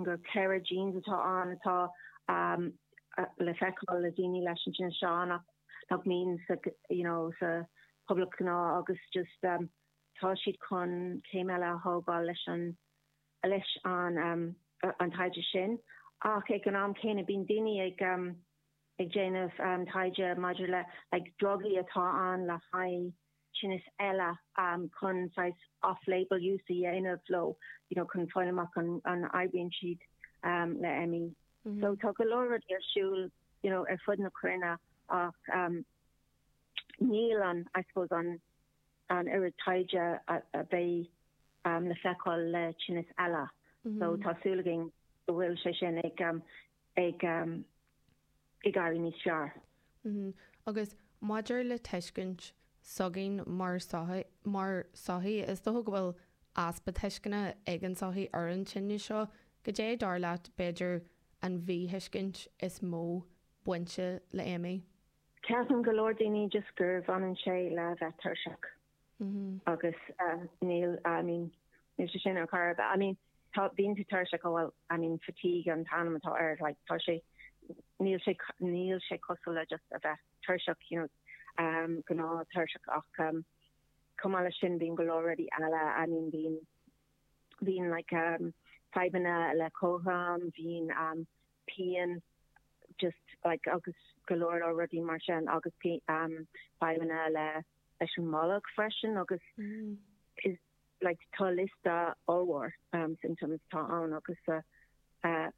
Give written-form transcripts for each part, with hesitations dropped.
Creidim gur 4 genes atá ann atá le feiceáil le daoine leis an tinneas seo nach nach mbíonn sa you know sa pobal gnáth agus just tá siad chun céim eile a thógáil leis an leis an an taighde sin. Ach ag an am céanna bíonn daoine ag ag déanamh taighde maidir le like drugaí atá ann le haghaidh tinnis eile chun saghas off-label use a dhéanamh leo, you know, chun fáil amach an an oibríonn siad le ME. So tá go leor rudaí ar siúl, you know, ar fud na cruinne ach níl an, I suppose, an an oiread taighde a a bheidh le feiceáil le tinnis eile. So tá súil againn go bhfuil sé sin ag ag ag éirí níos fearr. Agus maidir le tuiscint s'againn mar mar sochaí, is dócha go bhfuil easpa tuisceana ag an tsochaí ar an tinneas seo. Goidé dar leat, b'fhéidir, an mhíthuiscint is mó bainte le ME? Ceapann go leor daoine just gur bhaineann sé le bheith tuirseach. Agus níl, I mean, níl sé sin ar chor ar bith. I mean, tá, bíonn tú tuirseach, oh well, I mean, fatigue an t-ainm atá air, like, tá sé, níl sé, níl sé cosúil le just a bheith tuirseach, you know, um, gnáth tuirseach ach um, chomh maith leis sin bíonn go leor rudaí eile, I mean, bíonn, bíonn like um, fadhbanna le cothrom, bíonn um, pian, just like agus go leor leor rudaí mar sin agus um, fadhbanna le leis an mbolg freisin agus is like tá liosta ollmhór um symptoms atá ann agus uh uh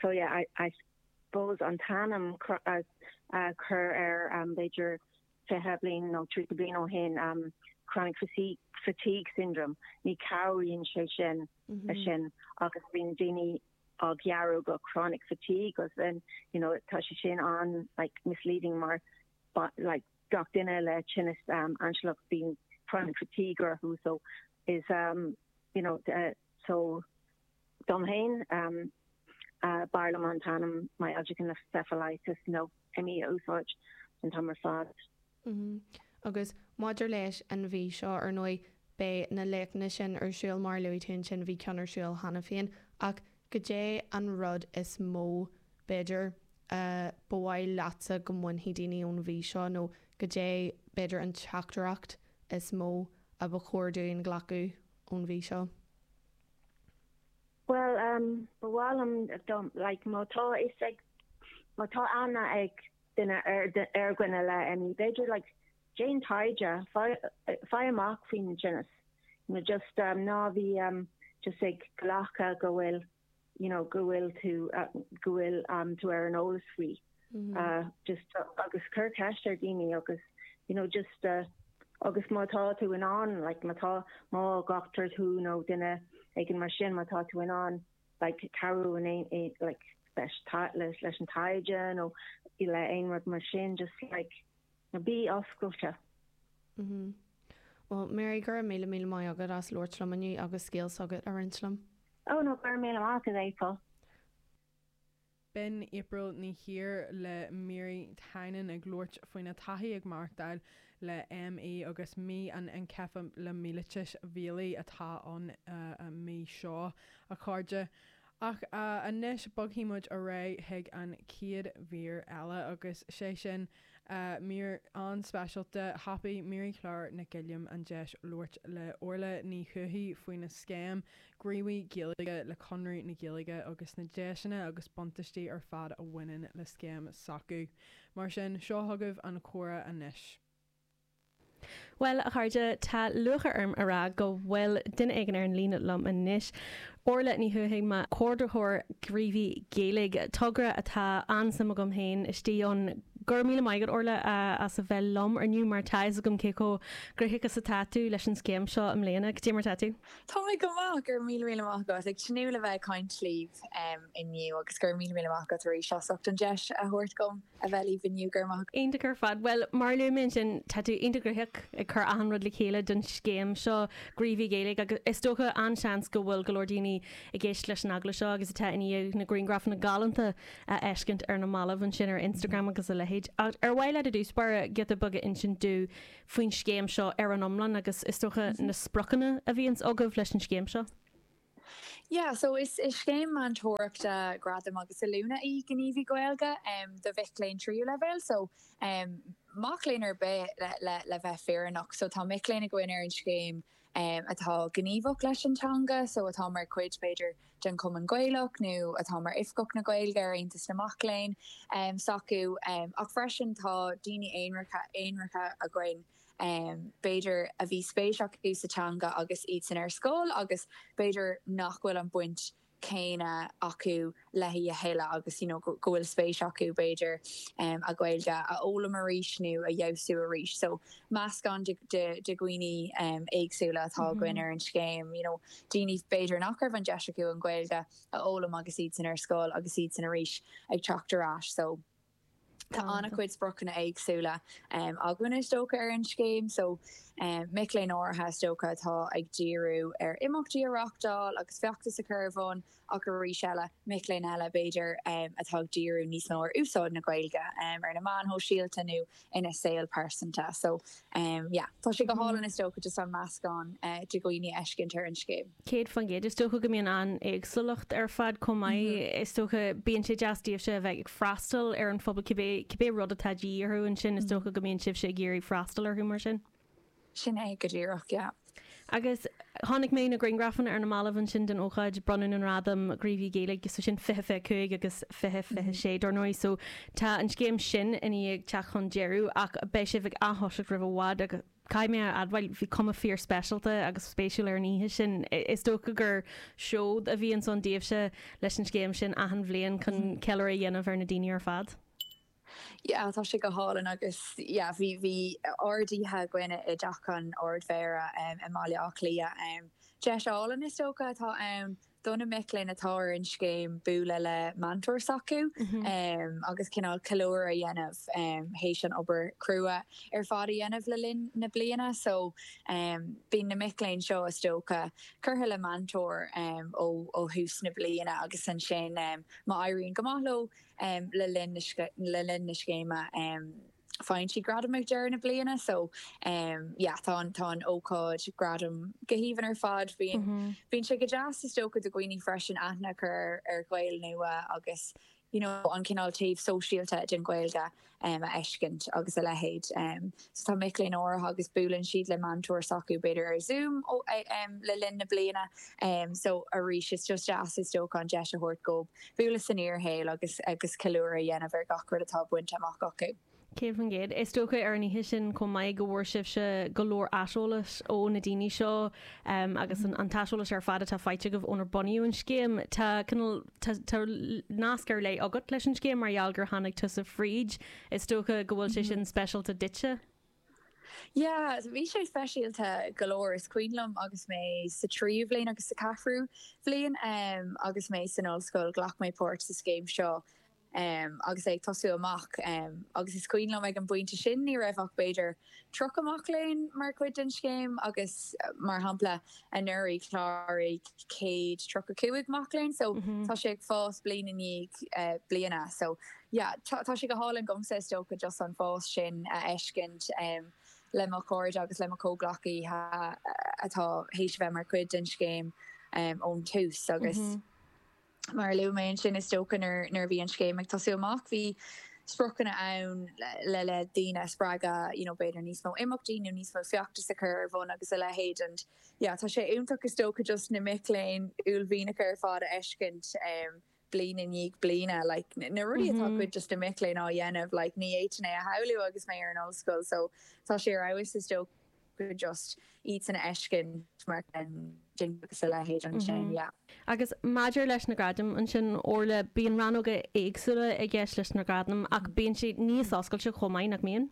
so yeah I I suppose an t-ainm a a chur ar um b'fhéidir 20 bliain nó 30 bliain ó shin um chronic fatigue fatigue syndrome ní cabhraíonn sé sin leis sin agus bíonn daoine á ghearradh go chronic fatigue agus then you know tá sé sin an like misleading mar like gach duine le tinneas ainsealach bíonn chronic fatigue orthu so is you know so dom féin b'fhearr liom an t-ainm myalgic encephalitis nó ME a úsáid an t-am ar fad. Agus maidir leis an mhí seo, ar ndóigh, beidh na léachtanna sin ar siúl mar a luaigh tú ansin, bhí ceann ar siúl cheana féin, ach goidé an rud is mó, b'fhéidir, a ba mhaith leatsa go mbainfidh daoine ón mhí seo nó goidé, b'fhéidir, an teachtaireacht is mó a ba chóir dúinn glacadh ón mhí seo? Bhuel, ba mhaith liom dom, like, má tá fhios ag, má tá aithne ag duine ar, ar dhuine le ME, b'fhéidir, like, déan taighde, faigh, faigh amach faoin tinneas, you know, just, ná bí, just ag glacadh go bhfuil you know go bhfuil tú go bhfuil tú ar an eolas faoi just agus cuir ceist ar daoine agus you know just agus má tá tú in ann like má tá má ghlactar tú nó duine éigin mar sin má tá tú in ann like cabhrú in aon like leis leis leis an taighde nó le aon rud mar sin just like bí oscailte. Well Mary go raibh míle míle maith agat as labhairt liom inniu agus scéal s'agat a roinnt liom. Oh no, go raibh míle maith agat April. B'in April Ní Chiar le Mary Tynan ag labhairt faoina taithí ag maireachtáil le ME agus mí an einceifealaimiailitis bhéalaigh atá ann an mhí seo, a chairde. Ach anois bogfaidh muid ar aghaidh chuig an chéad mhír eile agus sé sin mír an-speisialta. Thapaigh Mary Claire Nic Uilliam an deis labhairt le Orla Ní Thuathaigh faoina scéim Gníomhaí Gaeilge le Conradh na Gaeilge agus na deiseanna agus buntáistí ar fad a bhaineann le scéim s'acu. Mar sin, seo chugaibh an comhrá anois. Bhuel, a chairde, tá lúcháir orm a rá go bhfuil duine éigin ar an líne liom anois, Orla Ní Thuathaigh, mo chomhordaitheoir Gníomhaí Gaeilge, togra atá an-suim agam féin istigh ann. Go raibh míle maith agat, Orla, as a bheith liom inniu mar tá fhios agam cé chomh gnoitheach is atá tú leis an scéim seo i mbliana. Cad é mar atá tú? Tá mé go maith, go raibh míle míle maith agat. Ag tnúth le bheith ag caint libh inniu agus go raibh míle míle maith agat arís as ucht an deis a thabhairt dom. a bheith libh inniu, go raibh maith agat. Iontach ar fad. Bhuel, mar a luaigh mé ansin, tá tú iontach gnoitheach ag cur achan rud le chéile don scéim seo, Gníomhaí Gaeilge, agus is dócha an-seans go bhfuil go leor daoine ag éisteacht leis an agallamh seo agus atá i ndiaidh na grianghrafanna galánta a fheiscint ar na mallaibh ansin ar Instagram agus a leithéid. Ach ar mhaith leat i dtús báire giota beag a insint dúinn faoin scéim seo ar an iomlán agus is dócha na spriocanna a bhíonns agaibh leis an scéim seo? Yeah, so is scéim meantóireachta, gradaim agus oiliúna í Gníomhaí Gaeilge do mhic léinn tríú leibhéal, so mac léinn ar bith le bheith fírinneach. So tá mic léinn againn ar an scéim atá gníomhach leis an teanga, so atá mar chuid b'fhéidir den Chumann Gaelach nó atá mar Oifigeach na Gaeilge ar Aontas na Mac Léinn s'acu. Ach freisin tá daoine aonaracha againn b'fhéidir a bhí spéis acu sa teanga agus iadsan ar scoil agus b'fhéidir nach bhfuil an baint chéanna acu léi a thuilleadh agus you know go bhfuil spéis acu b'fhéidir a Ghaeilge a fhoghlaim arís nó a fheabhsú arís. So meascán de dhaoine éagsúla atá againn ar an scéim, you know daoine b'fhéidir nach raibh an deis acu an Ghaeilge a fhoghlaim agus iadsan ar scoil agus iadsan arís ag teacht ar ais. So. Tá an-chuid spriocanna éagsúla againn is dócha ar an scéim so mic léinn áirithe is dócha atá ag díriú ar imeachtaí a reáchtáil agus feachtas a chur ar bun ach arís eile mic léinn eile b'fhéidir atá ag díriú níos mó ar úsáid na Gaeilge ar na meáin shóisialta nó ina saol pearsanta. So yeah, tá sé go hálainn is dócha just an meascán de dhaoine a fheiscint ar an scéim. 100%. Is dócha go mbíonn an-éagsúlacht ar fad chomh maith. Is dócha, bíonn sé deas daoibhse a bheith ag freastal ar an phobal, cibé, cibé rud atá de dhíth orthu ansin, is dócha go mbíonn sibhse ag iarraidh freastal orthu mar sin. Sin é go díreach, yeah. Agus chonaic mé na grianghrafanna ar na mallaibh ansin den ócáid bronnadh na ngradam Gníomhaí Gaeilge, so sin 2025 agus 2026 dar ndóigh, so tá an scéim sin i ndiaidh teacht chun deireadh ach beidh sibh ag ath-thoiseacht roimh i bhfad agus caithfidh mé a admháil bhí cuma fíor speisialta agus spéisiúil ar an oíche sin. Is dócha gur seod a bhíonns ann daoibhse leis an scéim sin achan bhliain chun ceiliúradh a dhéanamh ar na daoine ar fad. Yeah, tá sé go hálainn agus yeah, bhí, bhí ard-oíche againn i dTeach an Ardmhéara i mBaile Átha Cliath. Deis álainn is dócha atá ann do na mic léinn atá ar an scéim bualadh le meantóir s'acu agus cineál ceiliúradh a dhéanamh théis an obair chrua ar fad a dhéanamh le linn na bliana. So bíonn na mic léinn seo is dócha curtha le meantóir ó ó thús na bliana agus ansin má éiríonn go maith leo le linn le linn na scéime faigheann siad gradam ag deireadh na bliana so yeah tá an tá an ócáid gradam go haoibhinn ar fad. Bíonn bíonn sé go deas is dócha do dhaoine freisin aithne a chur ar Ghaeil nua agus you know an cineál taobh sóisialta den Ghaeilge a fheiscint agus a leithéid. So tá mic léinn áirithe agus buaileann siad le meantóir s'acu b'fhéidir ar Zoom le linn na bliana. So arís is just deas is dócha an deis a thabhairt dóibh bualadh san fhíorshaol agus agus ceiliúradh a dhéanamh ar gach rud atá bainte amach acu. 100%. Is dócha ar an oíche sin chomh maith go bhfuair sibhse go leor aiseolais ó na daoine seo agus an t-aiseolas ar fad atá faighte agaibh ónar bunaíodh an scéim. Tá cineál, tá, tá nasc ar leith agat leis an scéim mar gheall gur tháinig tusa fríd. Is dócha go bhfuil sé sin speisialta duitse. Yeah, bhí sé speisialta go leor. Is cuimhin liom agus mé sa tríú bhliain agus sa cheathrú bhliain agus mé san ollscoil, ghlac mé páirt sa scéim seo agus é ag tosú amach agus is cuimhin liom ag an bpointe sin ní raibh ach b'fhéidir 30 mac léinn mar chuid den scéim agus mar shampla anuraidh chláraigh 135 mac léinn so tá sé ag fás bliain i ndiaidh bliana so yeah tá sé go hálainn domsa is dócha just an fás sin a fheiscint le mo chairde agus le mo chomhghleacaithe atá théis a bheith mar chuid den scéim ón tús agus Mar a luaigh mé ansin, is dócha nuair a bhí an scéim ag tosú amach, bhí spriocanna ann le le daoine a spreagadh, you know, b'fhéidir níos mó imeachtaí nó níos mó feachtas a chur ar bun agus a leithéid and yeah, tá sé iontach is dócha just na mic léinn uaillmhianacha ar fad a fheiscint bliain i ndiaidh bliana, like na rudaí atá cuid de na mic léinn á dhéanamh, like ní fhéadfainn é a shamhlú agus mé ar an ollscoil so tá sé ar fheabhas is dócha. just iadsan a fheiscint mar sin agus a leithéid ansin, yeah. Agus maidir leis na gradaim ansin, Orla, bíonn rannóga éagsúla i gceist leis na gradaim ach bíonn siad níos oscailte chomh maith, nach mbíonn?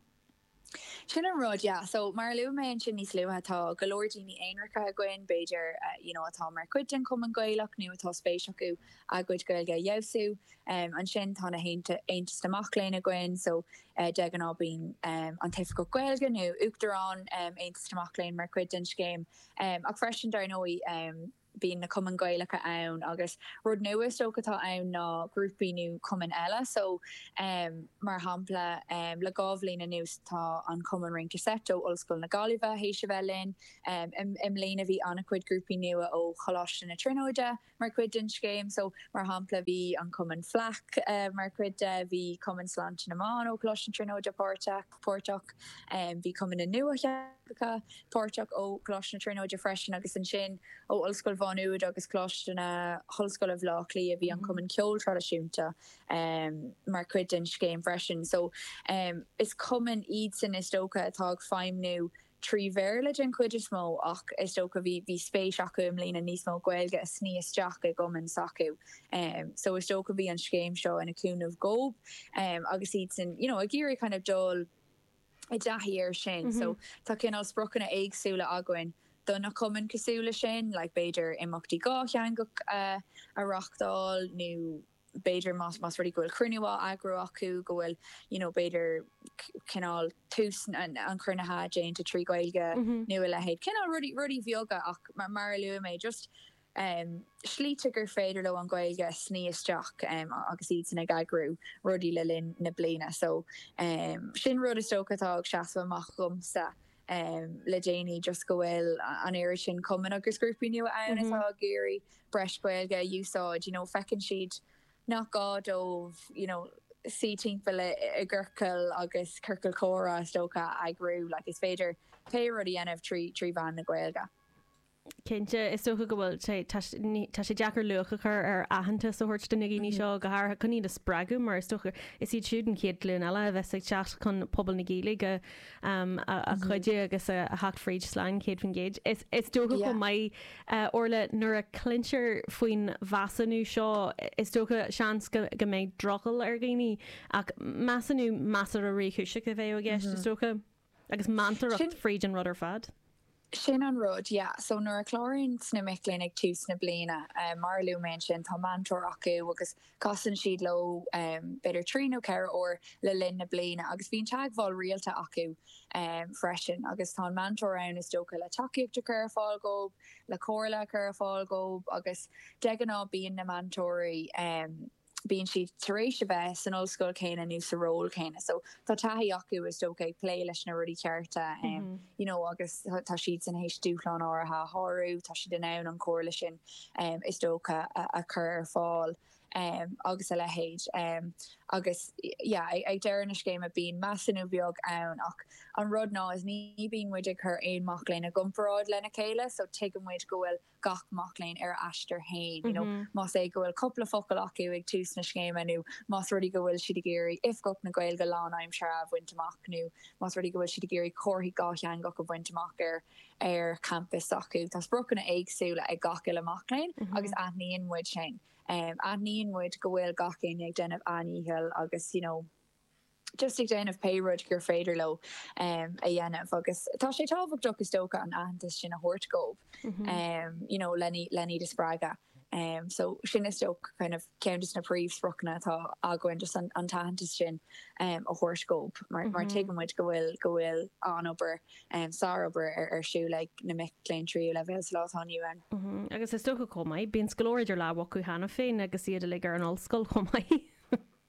Sin an rud, yeah. So, mar a luaigh mé ansin níos luaithe, tá go leor daoine aonaracha againn, b'fhéidir, you know, atá mar chuid den Chumann Gaelach nó atá spéis acu a gcuid Gaeilge a fheabhsú. Ansin tá na hAontas na Mac Léinn againn, so de ghnáth bíonn an tOifigeach Gaeilge nó Uachtarán Aontas na Mac Léinn mar chuid den scéim. Ach freisin, dar ndóigh, Bíonn na cumainn Gaelacha ann agus rud nua is dócha atá ann ná grúpaí nó cumainn eile. So mar shampla le 2 bhliain anuas tá an Cumann Rince Seit ó Ollscoil na Gaillimhe théis a bheith linn. I mbliana bhí an-chuid grúpaí nua ó Choláiste na Tríonóide mar chuid den scéim. So mar shampla bhí an Cumann Fleadh mar chuid de, bhí Cumann Sláinte na mBan ó Choláiste na Tríonóide páirteach, bhí Cumann na Nuatheangacha páirteach ó Choláiste na Tríonóide freisin agus ansin ó Ollscoil Mhá Nuad agus Coláiste na hOllscoile Bhaile Átha Cliath bhí an Cumann Ceoil Traidisiúnta mar chuid den scéim freisin. So is cumainn iadsan is dócha atá ag feidhmniú trí Bhéarla den chuid is mó ach is dócha bhí bhí spéis acu i mbliana níos mó Gaeilge a sní isteach i gcumann s'acu so is dócha bhí an scéim seo ina cúnamh dhób agus iadsan you know ag iarraidh kind of dul i dtaithí air sin so tá cineál spriocanna éagsúla againn do na cumainn cosúil le sin like b'fhéidir imeachtaí dhátheangach a reachtáil nó b'fhéidir más más rud é go bhfuil cruinniú á eagrú acu go bhfuil you know b'fhéidir cineál tús an chruinnithe déanta trí Ghaeilge nó a leithéid. Cineál rudaí rudaí bheaga ach mar mar a luaigh mé just um slite gur féidir leo an Ghaeilge a sní isteach um agus iadsan ag eagrú rudaí le linn na bliana. So um sin rud is dócha atá ag seasamh amach dhomsa um le déanaí just go bhfuil an oiread sin cumann agus grúpaí nua ann atá ag iarraidh breis Gaeilge a úsáid, you know, feiceann siad nach gá dóibh, you know, suí timpeall i gciorcal agus ciorcal comhrá is dócha a eagrú, like is féidir pé rud a dhéanamh trí trí mheán na Gaeilge. Cinnte, is dócha go bhfuil sé, tá tá sé deacair luach a chur ar aitheantas a thabhairt do na daoine seo, go háirithe chun iad a spreagadh mar is dócha is iad siúd an chéad ghlúin eile a bheas ag teacht chun pobal na Gaeilge a chuidiú agus a theacht fríd slán 100%. Is dócha chomh maith, Orla, nuair a chluintear faoin mheasúnú seo, is dócha, seans go mbeidh drogall ar dhaoine, ach measúnú measartha réchúiseach a bheadh i gceist, is dócha, agus meantóireacht fríd an rud ar fad. Sin an rud, yeah. So nuair a chláraíonn na mic léinn ag tús na bliana, mar a luaigh mé ansin, tá meantóir acu agus Casann siad leo b'fhéidir 3 nó 4 uair le linn na bliana agus bíonn teagmháil rialta acu freisin agus tá an meantóir ann is dócha le tacaíocht a chur ar fáil dhóibh, le comhairle a chur ar fáil dhóibh agus de ghnáth bíonn na meantóirí, bíonn siad tar éis a bheith san ollscoil chéanna nó sa ról céanna so tá taithí acu is dócha ag plé leis na rudaí cearta you know agus tá siadsan théis dúshláin áirithe a shárú, tá siad in ann an chomhairle sin is dócha a chur ar fáil agus a leithéid. Agus yeah ag deireadh na scéime bíonn measúnú beag ann ach an rud ná is ní bíonn muid ag cur aon mac léinn i gcomparáid lena chéile so tuigeann muid go bhfuil gach mac léinn ar a aistear féin you know más é go bhfuil cúpla focal acu ag tús na scéime nó más rud é go bhfuil siad ag iarraidh Oifigeach na Gaeilge lánaimseartha a bhaint amach nó más rud é go bhfuil siad ag iarraidh comharthaí dhátheangach a bhaint amach ar ar champas s'acu. Tá spriocanna éagsúla ag gach uile mac léinn agus aithníonn muid sin. Aithníonn muid go bhfuil gach éinne ag déanamh a ndícheall agus you know just ag déanamh pé rud gur féidir leo a dhéanamh agus tá sé tábhachtach is dócha an aitheantas sin a thabhairt dhóibh you know len iad a spreagadh. So sin is dócha kind of ceann de na príomhspriocanna atá againn just an t-aitheantas sin a thabhairt dhóibh mar mar tuigeann muid go bhfuil go bhfuil an-obair sárobair ar siúl ag na mic léinn tríú leibhéal sa lá atá inniu ann. Agus is dócha chomh maith, bíonn go leor idir lámha acu cheana féin agus iad uilig ar an ollscoil chomh maith.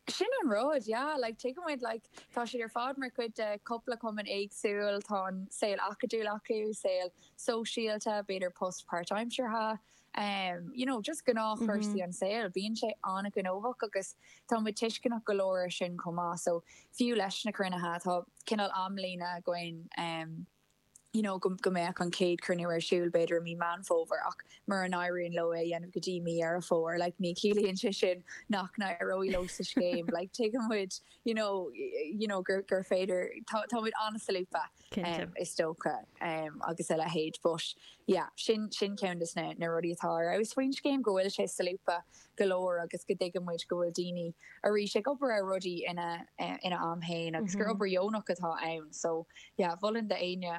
Sin an rud, yeah, like tuigeann muid like tá siad ar fad mar chuid de cúpla cumann éagsúil, tá an saol acadúil acu, saol sóisialta, b'fhéidir post páirtaimseartha, um you know just gnáthchúrsaí an saoil, bíonn sé an-ghnóthach agus tá muid tuisceanach go leor ar sin chomh maith so fiú leis na cruinnithe tá cineál amlíne againn um you know go go mbeadh an chéad chruinniú ar siúl b'fhéidir i mí Meán Fómhair ach mura n-éiríonn leo é a dhéanamh go dtí mí Dheireadh Fómhair like ní chiallaíonn sé sin nach n-éireoidh leo sa scéim like tuigeann muid you know you know gur gur féidir tá tá muid an-solúbtha um is dócha um agus a leithéid but yeah sin sin ceann des na na rudaí atá ar fheabhas faoin scéim go bhfuil sé solúbtha go leor agus go dtuigeann muid go bhfuil daoine arís ag obair ar rudaí ina ina am féin agus gur obair dheonach atá ann so yeah mholfainn d'éinne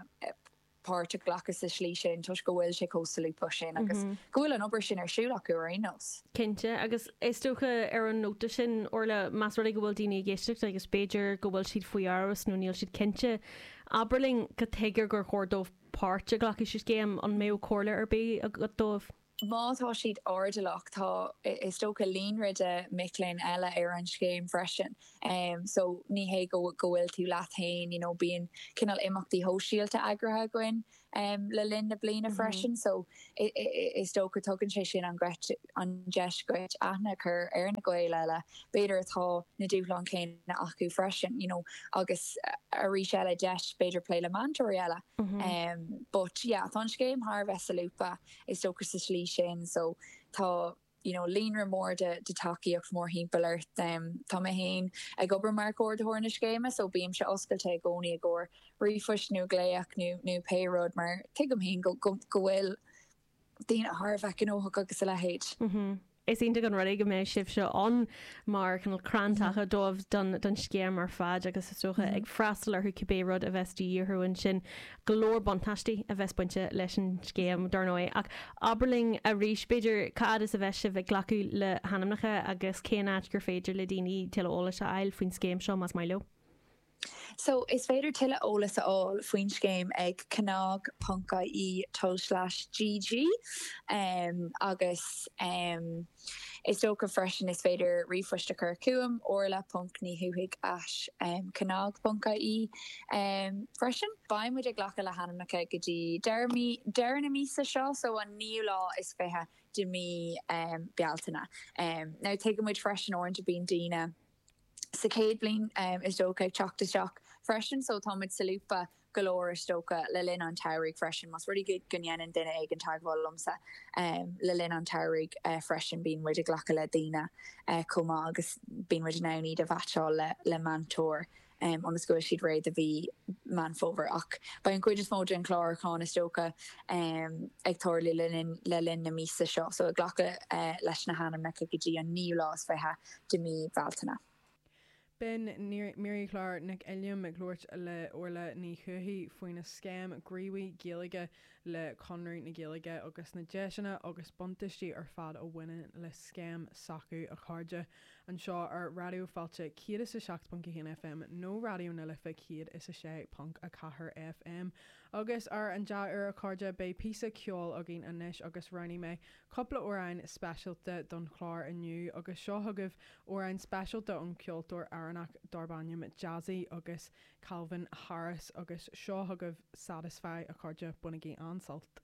páirt a ghlacadh sa slí sin toisc go bhfuil sé chomh solúbtha sin agus go bhfuil an obair sin ar siúl acu ar aon nós. Cinnte, agus is dócha ar an nóta sin, Orla, más rud é go bhfuil daoine ag éisteacht agus b'fhéidir go bhfuil siad faoi amhras nó níl siad cinnte, abair linn cad tuige gur chóir dóibh páirt a ghlacadh sa scéim, an mbeadh comhairle ar bith agat dóibh? Má tá siad airdeallach, tá, is dócha, líonra de mic léinn eile ar an scéim freisin. So ní hé go go bhfuil tú leat féin, you know, bíonn cineál imeachtaí shóisialta eagraithe againn le linn na bliana freisin. So is dócha tugann sé sin an an deis dhuit aithne a chur ar na Gaeil eile, b'fhéidir atá na dúshláin chéanna acu freisin, you know, agus arís eile deis b'fhéidir plé le meantóirí eile. But yeah, tá an scéim thar a bheith solúbtha is dócha sa slí sin so tá you know líonra mór de de tacaíocht mórthimpeall ort. Tá mé féin ag obair mar chomhordaitheoir na scéime so bímse oscailte i gcónaí i gcomhair ríomhphoist nó glaoch nó nó pé rud mar tuigim féin go go go bhfuil daoine thar a bheith gnóthach agus a leithéid. Is iontach an rud é go mbeidh sibhse ann mar cineál crann taca dóibh don don scéim ar fad agus is dócha ag freastal orthu cibé rud a bheas de dhíth orthu ansin. Go leor buntáistí a bheas bainte leis an scéim dar ndóigh. Ach abair linn arís b'fhéidir cá fhad is a bheas sibh ag glacadh le hainmneacha agus cén áit gur féidir le daoine tuilleadh eolais a fháil faoin scéim seo más maith leo. So, is féidir tuilleadh eolais a fháil faoin scéim ag cnag ponc ie tulslais gg agus is dócha freisin is féidir ríomhphost a chur chugam, orla ponc ní thuathaigh at cnag ponc ie freisin. Beidh muid ag glacadh le hainmneacha go dtí deireadh mí, deireadh na míosa seo, so an naoú lá is 20 de mí Bealtaine. Now tuigeann muid freisin uaireanta bíonn daoine, sa chéad bhliain is dócha ag teacht isteach freisin so tá muid solúbtha go leor is dócha le linn an tsamhraidh freisin más rud é go ndéanann duine éigin teagmháil liomsa le linn an tsamhraidh freisin bíonn muid ag glacadh le daoine chomh maith agus bíonn muid in ann iad a mheaitseáil le le meantóir ionas go bhfuil siad réidh do mhí Meán Fómhair. Ach beidh an chuid is mó den chlárúchán, is dócha, ag tarlú le linn le linn na míosa seo, so ag glacadh leis na hainmneacha go dtí an naoú lá is 20 de mhí Bealtaine. B'in Mary Clár Nic Uilliam ag labhairt le Orla Ní Thuathaigh faoina scéim Gníomhaí Gaeilge le Conradh na Gaeilge agus na deiseanna agus buntáistí ar fad a bhaineann le scéim s'acu, a chairde. Anseo ar Raidió Fáilte 107.1 FM nó Raidió na Life 106.4 FM. Agus ar an dea-uair a chairde, beidh píosa ceoil againn anois agus roghnaigh mé cúpla amhrán speisialta don chlár inniu agus seo chugaibh amhrán speisialta ón cheoltóir Éireannach darb ainm Jazzy agus Calvin Harris agus seo chugaibh Satisfy a chairde, bainigí an-sult.